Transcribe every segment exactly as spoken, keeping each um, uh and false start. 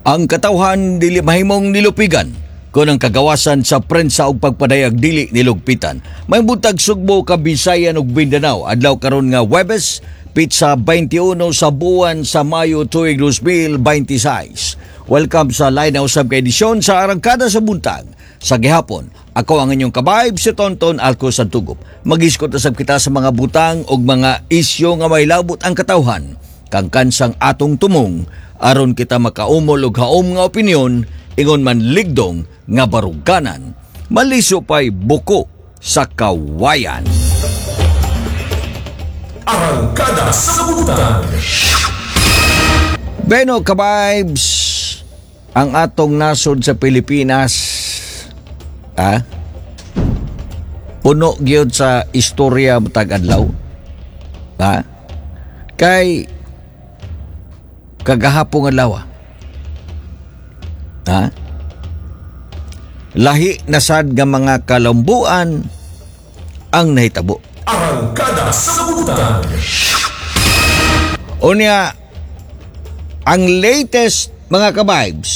Ang katawhan dili mahimong nilupigan kung ang kagawasan sa prensa ug pagpadayag dili nilugpitan. May buntag, Sugbo, Kabisayan ug Mindanao. Adlaw karon nga Webes, petsa twenty-one sa buwan sa Mayo tuig twenty twenty-six. Welcome sa lain na usab ka edisyon sa Arangkada sa Buntag. Sa gihapon, ako ang inyong kabayb, si Tonton Alco Santugop. Mag-iskot usab kita sa mga butang ug mga isyu nga may labot ang katawhan. Kangkansang atong tumong aron kita makaumol og haom nga opinyon, ingon man ligdong nga baruganan maliso pa'y buko sa kawayan. Arangkada sa Buntag. Beno, kabibes, ang atong nasod sa Pilipinas, ah, puno gyud sa istorya matag adlaw. Ha? Kay kagahapong adlaw. Ha? Lahi na sad nga mga kalambuan ang nahitabo. Arangkada sa Buntag. Unya, ang latest, mga kabibes,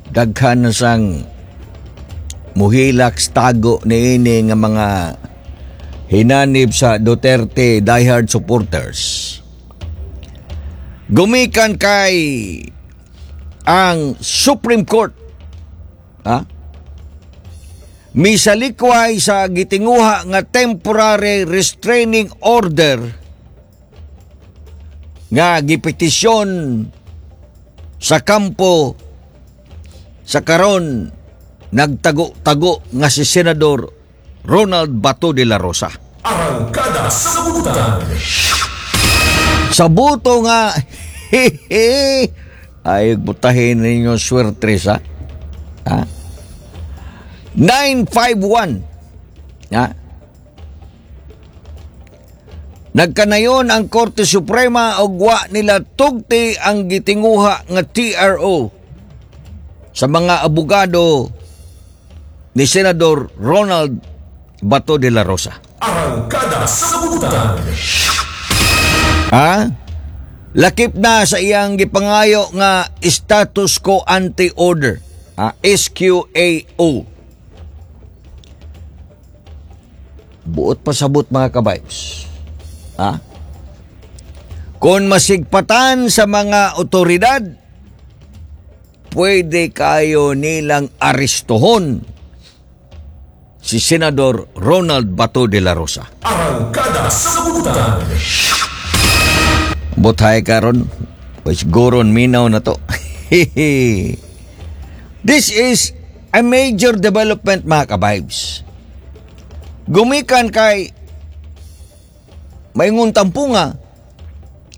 daghan na sang muhilak tago niini nga mga hinanib sa Duterte diehard supporters. Gumikan kay ang Supreme Court, ha? Misalikway sa gitinguha nga temporary restraining order nga gipetisyon sa kampo sa karon nagtago-tago nga si Senador Ronald Bato de la Rosa. Arangkada sa Buntag. Sa buto nga ay butahin ninyo swerte sa, ha? nine five one, ha? Nagkanayon ang Korte Suprema og wa nila tugti ang gitinguha nga T R O sa mga abogado ni Senador Ronald Bato de la Rosa. Arangkada sa Buntag. Ha? Lakip na sa iyang gipangayo nga status quo ante order, ha? S Q A O. Buot pasabot, mga kabibes. Ha? Kung masigpatan sa mga otoridad, pwede kayo nilang arestuhon si Senador Ronald Bato de la Rosa. Arangkada sa Buntag. Butay karon, pues goron minaw na to. This is a major development, mga kabibes. Gumikan kay maingon tampunga,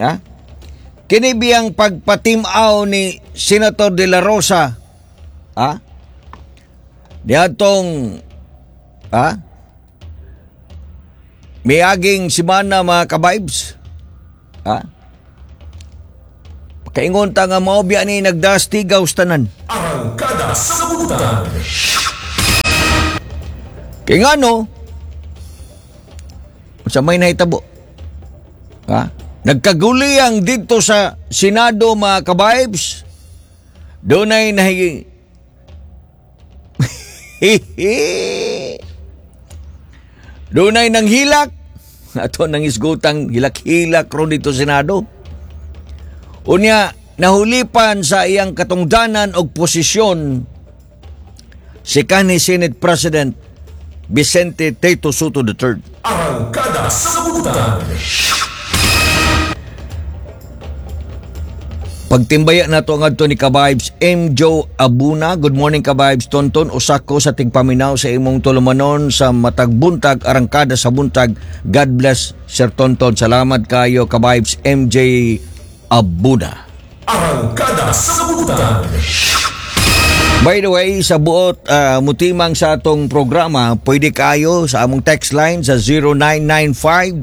ha? Kini biyang pagpatimaw ni Senator De La Rosa, ha? Niadtong, ha? Miaging simana, mga kabibes. Ha? Kaingon ta nga mao biya ni nagdastigaw tanan. Arangkada sa Buntag. Kay ngano, sa may nahitabo. Ha? Nagkaguliyang dito sa Senado, mga kabibes. Dunay nahi Dunay nang hilak. Ato nang isgutang hilak-hilak ron dito sa Senado. Unya, nahulipan sa iyang katungdanan og posisyon si kanhi Senate President Vicente Tito Sotto the Third. Arangkada sa Buntag. Pagtimbaya na to ang adto ni Kabibes M. Joe Abuna. Good morning, Kabibes Tonton. Usako sa tigpaminaw sa imong tulumanon sa matag buntag, arangkada sa buntag. God bless, Sir Tonton. Salamat kayo, Kabibes M J Abuna. Arangkada sa Buntag. By the way, sa buot ah, mutimang sa atong programa, pwede kayo sa among text line sa zero nine nine five,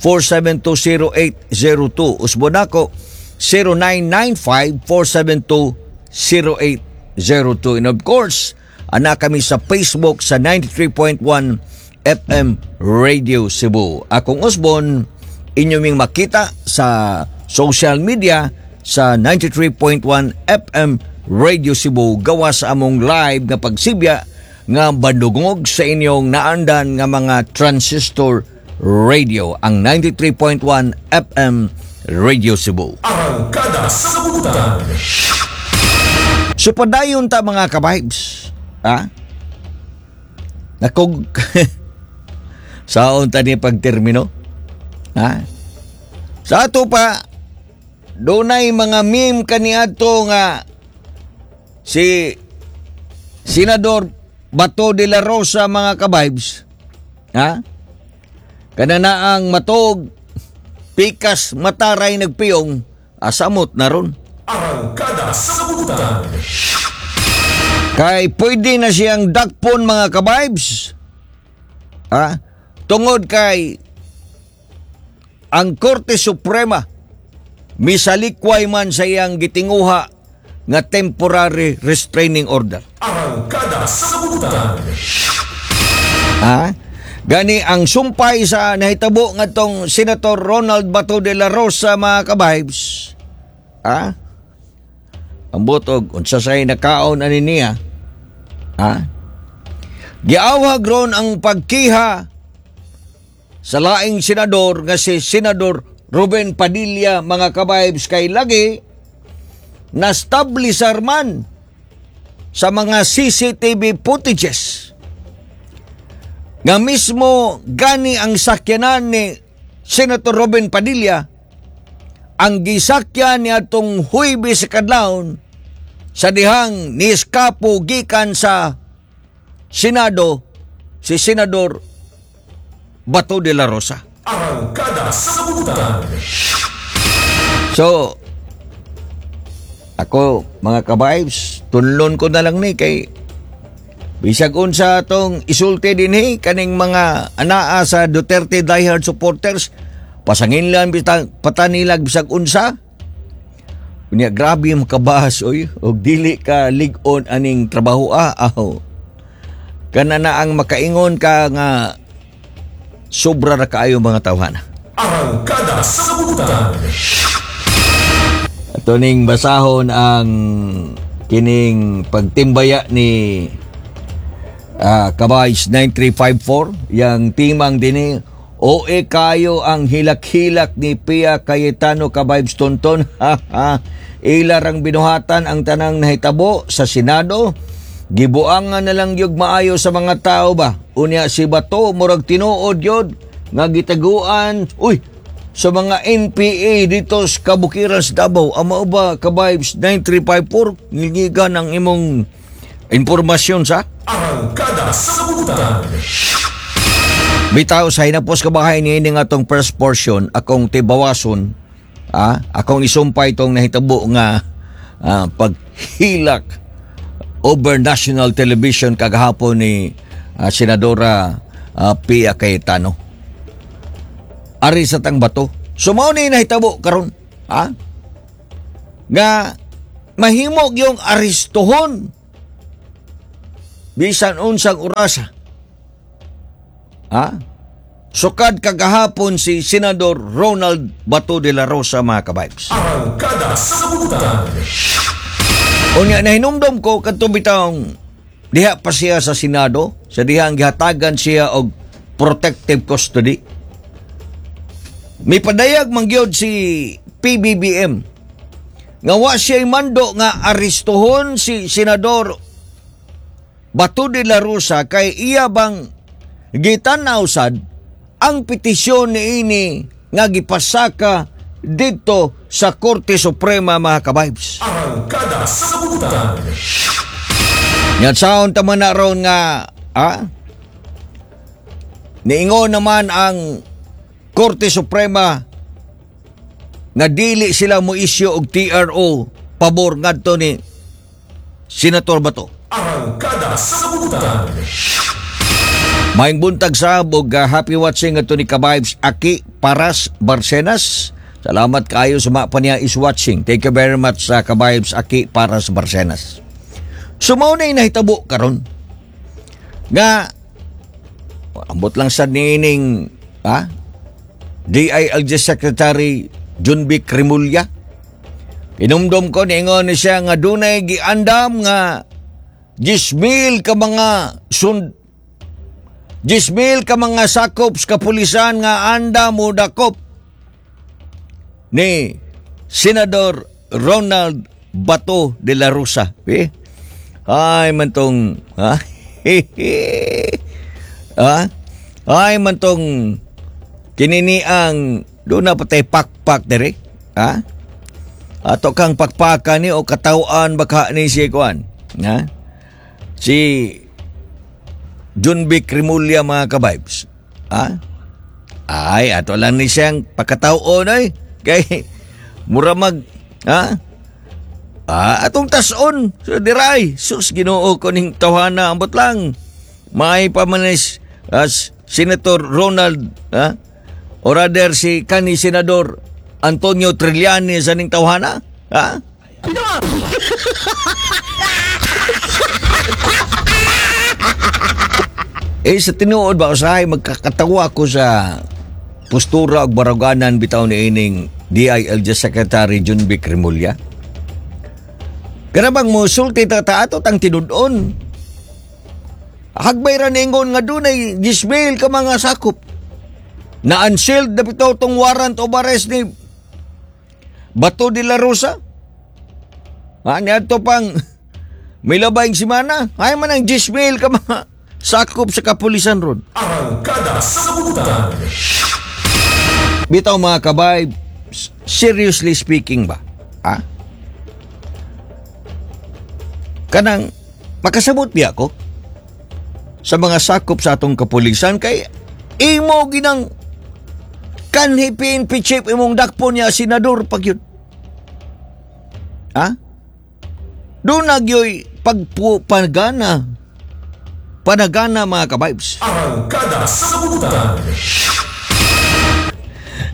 four seven two, zero eight zero two. Usbon nako, zero nine nine five, four seven two, zero eight zero two. And of course, ana kami sa Facebook sa ninety-three point one F M Radio Cebu. Akong usbon, inyo ming makita sa social media. sa ninety-three point one F M Radio Cebu, gawas sa among live nga pagsibya nga badungog sa inyong naandan nga mga transistor radio, ang ninety-three point one F M Radio Cebu. Arangkada sa Butan. So padayon ta, mga ka-vibes. Ha? Nakog saon ta ni pagtermino? Ha? Sa ato pa, dunay mga meme kaniadto nga si Senador Bato de la Rosa, mga ka-vibes. Ha? Kana ang matog pikas mataray nagpiyong asamot na ron. Arangkada sa Butan. Kay pwede na siyang dakpon, mga ka-vibes. Ha? Tungod kay ang Korte Suprema misalikway man sa iyang gitinguha nga temporary restraining order. Arangkada sa Butan. Ha? Gani ang sumpay sa nahitabo ngadtong Senator Ronald Bato de la Rosa, mga ka-vibes. Ha? Ang butog, unsa say nakaon ani niya? Ha? Giawhag ron ang pagkiha sa laing senador nga si Senador Ruben Padilla, mga ka-vibes, kay lagi na-establisar man sa mga C C T V footages nga mismo gani ang sakyanan ni Senator Robin Padilla ang gisakyan ni atong Huwebes sa kadlawon sa dihang ni-eskapo gikan sa Senado si Senador Bato de la Rosa. Arangkada sa Butan. So, ako, mga ka-vibes, tunlon ko na lang ni kay bisag unsa atong isulti dinhi kaning mga anaa sa Duterte diehard supporters, pasanginlan bitang patanilag bisag unsa. Unya grabe makabas oy og dili ka lig-on aning trabaho ah aho. Kana na ang makaingon ka nga sobra ra kaayo mga tawhana. Arangkada sa Butan. Ato ning basahon ang kining pagtimbaya ni ah, Kabays nine three five four, yang timang dinhi. O E kayo ang hilak-hilak ni Pia Cayetano, Ka-vibes Tonton. Ila rang binuhatan ang tanang nahitabo sa Senado. Gibuangan na lang yug maayo sa mga tao ba. Unya si Bato murag tinuod yod nga gitaguan. Uy, sa mga N P A dito sa Kabukiran sa Davao. Amo ba, Ka-vibes nine three five four, ngilngigan ang imong impormasyon sa Arangkada sa Butan. Bitaw sa hinapos kabahay ni ini nga atong first portion, akong tibawason, ah, akong isumpay itong nahitabo nga ah, paghilak over national television kagahapon ni ah, Senadora ah, Pia Cayetano. Ari sa tang Bato. So mao ni nahitabo karon, ha? Nga mahimo yung arestuhon bisan unsang orasa. Ha? Sukad kagahapon si Senador Ronald Bato de la Rosa, mga ka-vibes. Arangkada sa Butan. Unya nahinumdom ko kadto bitawng diha pa siya sa Senado, sa diha ang gihatagan siya og protective custody. May padayag man gyud si P B B M nga wa siya'y mando nga arestuhon si Senador Bato de la Rosa kay iya bang gitan-aw sad ang petisyon niini nga gipasaka dito sa Korte Suprema, mga ka-vibes. Arangkada sa Butan. Yan saon ta man na ron nga ah, niingon naman ang Korte Suprema nga dili sila mo issue og T R O pabor ngadto ni Senator Bato. Arangkada sa Butan. Maayong buntag sab og uh, happy watching ato ni Ka-vibes Aki Paras Barcenas. Salamat kaayo sa mga pa niya is watching. Thank you very much sa Ka-vibes Aki Paras Barcenas. So mao na nahitabo karon nga ambot lang sa niining ha D I L G Secretary Jonvic Remulla. Inumdum ko, niingon ni siya nga dunay giandam nga jismil ka mga sund jismil ka mga sakop sa kapulisan nga anda mo dakop ni Senador Ronald Bato de la Rosa. Eh? Ay man tong, ha? Ha? Ay man tong kinini ang doon na patay pakpak dere. Ha? Ato kang pakpakan ni o katawaan baka ni si kuan. Ha? Si Junvic Remulla, mga ka-vibes. Ha? Ay, ato lang ni siyang pagkatawon ay. Kay mura mag, ha? Ah, atong tason. So, diray. Sus, Ginoo ko ning tawhana. Ambot lang. May pamanis as Senator Ronald, ha? O rather si kani Senador Antonio Trillanes sa ning tawhana. Ha? Eh, sa tinuod ba, usahay magkakatawa ko sa postura ug baruganan bitaw ni ining D I L G Secretary Junvic Remulla. Kana bang mosulti ta ta ato tang tinud-on. Hagbay ra ningon nga dunay gismail ka mga sakop. Na unsealed na bitaw tong warrant of arrest ni Bato de la Rosa. Ha, niadto pang may labayng simana. Ay man ang gismail ka mga sakop sa kapulisan ron. Arangkada sa Butan. Bitaw, mga kabay, seriously speaking ba? Ha? Kanang makasabot biya ko sa mga sakop sa atong kapulisan kay imo ginang kanhi P N P chief imong dakpo niya senador pag yun. Ha? Doon nagyoy pagpagana panagana, mga ka-vibes. Arangkada sa Butan.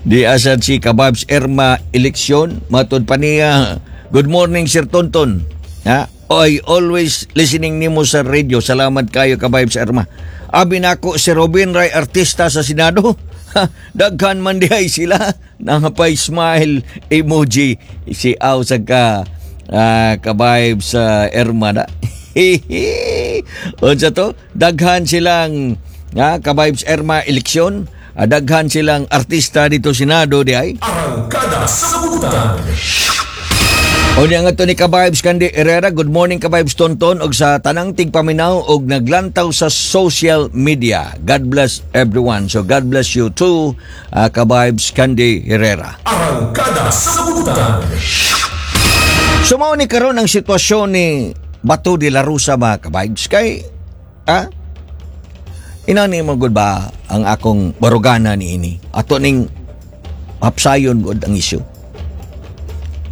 Di asad si Kababs Erma Eleksyon, matod pa niya, "Good morning, Sir Tonton. Ha? I always listening nimo sa radio. Salamat kayo, Kababs Erma. Abi nako si Robin Ray artista sa Senado. Ha, daghan man dihay sila." Nangapay smile emoji si Aw sa ka uh, Kababs sa Erma na. Unsa to? Daghan silang nga Kababs Erma Eleksyon. Ah, daghan silang artista dito Senado di ay. Arangkada sa Butan. O niya nga to ni Kabibes Candy Herrera, "Good morning, Kabibes Tonton og sa tanang tigpaminaw og naglantaw sa social media. God bless everyone." So God bless you too, uh, Kabibes Candy Herrera. Arangkada sa Butan. So mao ni karon ang sitwasyon ni Bato de la Rosa, mga kabibes, kay ah inani mo gud ba ang akong barugana ni ini ato ning hapsayon gud ang issue,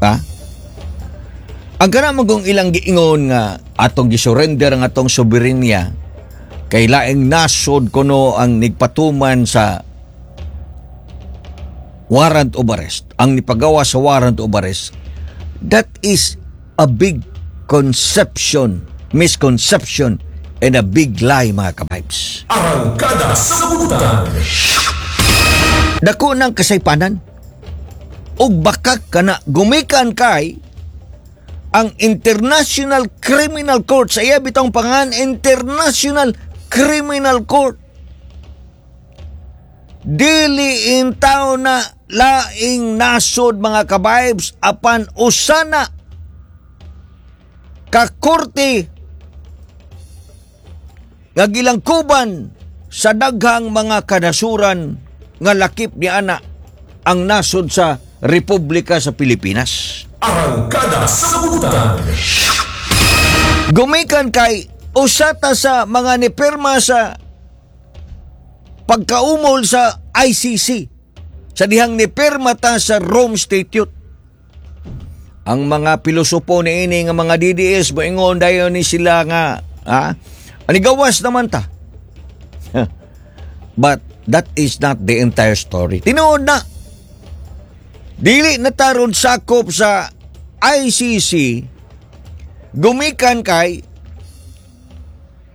ha? Ang kana mo kung ilang giingon nga atong gisurrender ang atong soberenya kay laing nasod kuno ang nigpatuman sa warrant of arrest, ang nipagawa sa warrant of arrest, that is a big conception, misconception and a big lie, mga kabibes. Arangkada sa Butan. Dako ng kasaypanan ug bakak kana gumikan kay ang International Criminal Court sa iya bitong pangan International Criminal Court, dili in na laing nasod, mga kabibes, apan usana ka korte nga gilangkuban sa daghang mga kanasuran nga lakip ni ana ang nasod sa Republika sa Pilipinas. Arangkada sa Butan. Gumikan kay usata sa mga nipirma sa pagkaumol sa I C C sa dihang nipirma ta sa Rome Statute. Ang mga pilosopo ni ini nga mga D D S moingon dayon ni sila nga, ha, anigawas naman ta. But that is not the entire story. Tinuod na. Dili na taron sakop sa I C C gumikan kay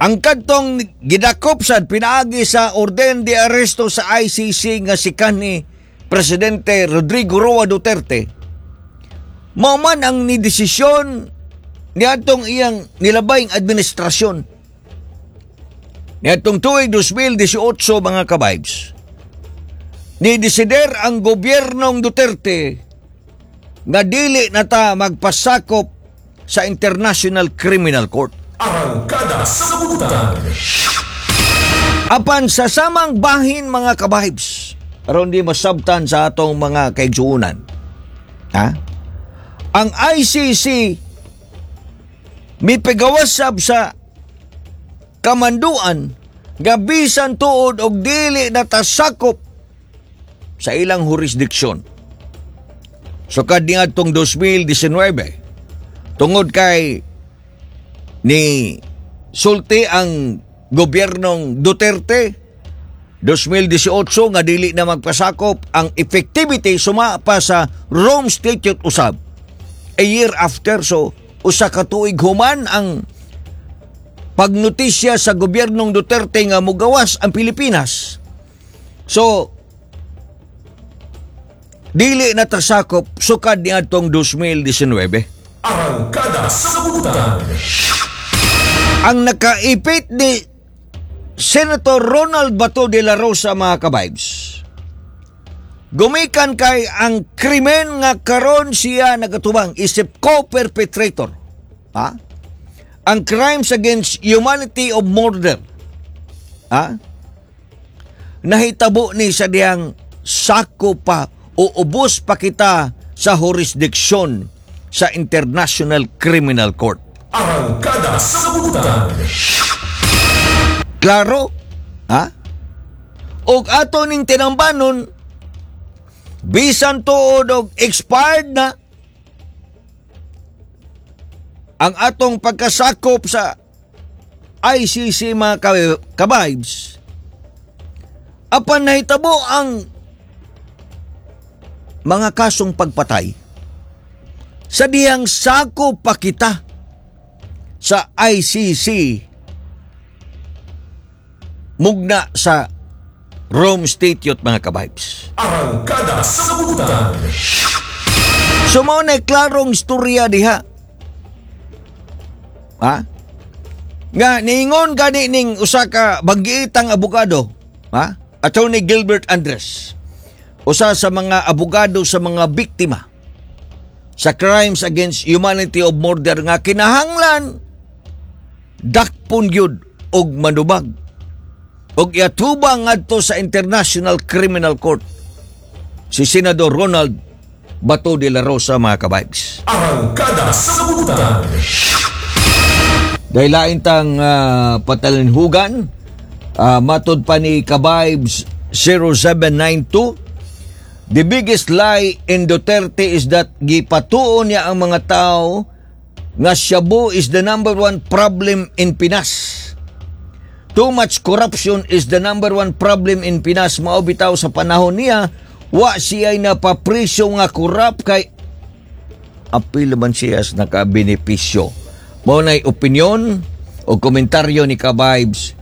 ang kadtong gidakop sad pinaagi sa orden de arresto sa I C C nga si kanhi Presidente Rodrigo Roa Duterte. Mao man ang nidesisyon niadtong iyang nilabayng administrasyon. Niadtong tuig twenty eighteen, mga kabibes, nidesider ang gobyernong Duterte nga dili na ta magpasakop sa International Criminal Court. Arangkada sa Butan. Apan sa samang bahin, mga kabibes, aron di masabtan sa atong mga kaigsuunan. Ha? Ang I C C mipigawas sab sa kamanduan nga bisan tuod og dili na ta sakop sa ilang jurisdiksyon. Sukad niadtong twenty nineteen, tungod kay ni sulti ang gobyernong Duterte twenty eighteen nga dili na magpasakop, ang effectivity suma pa sa Rome Statute usab a year after, so usa ka tuig human ang pagnotisya sa gobyernong Duterte nga mugawas ang Pilipinas. So dili na ta sakop sukad niadtong twenty nineteen. Arangkada sa Butan. Ang nakaipit ni Senator Ronald Bato de la Rosa, mga kabibes, gumikan kay ang krimen nga karon siya nagatubang isip co-perpetrator. Ha? Ang crimes against humanity of murder. Ha? Nahitabo ni sa diyang sako pa o ubos pa kita sa jurisdiksyon sa International Criminal Court. Arangkada sa Butan. Klaro? Ha? Og ato ning tinambanon, bisan tuod og expired na ang atong pagkasakop sa I C C, mga ka- kabibes, apan nahitabo ang mga kasong pagpatay sa diyang sako pa kita sa I C C mugna sa Rome Statute, mga kabibes. Arangkada sa Butan. So mao na klarong istorya diha. Ha? Nga niingon gani ning usa ka banggiitang abogado, ha? Attorney Gilbert Andres. Usa sa mga abogado sa mga biktima sa crimes against humanity of murder nga kinahanglan dakpon gyud og manubag og iatubang ngadto sa International Criminal Court si Senador Ronald Bato de la Rosa, mga kabibes. Arangkada sa Butan. Dahil lain tang ah, patalinhugan, uh, matod pa ni Kabibes zero seven nine two, "The biggest lie in Duterte is that gipatuon niya ang mga tao nga shabu is the number one problem in Pinas. Too much corruption is the number one problem in Pinas. Mao bitaw sa panahon niya, wa siya napapresyo nga corrupt kay apil man siya sa nakabenepisyo." Mao na'y opinyon o komentaryo ni Kabibes.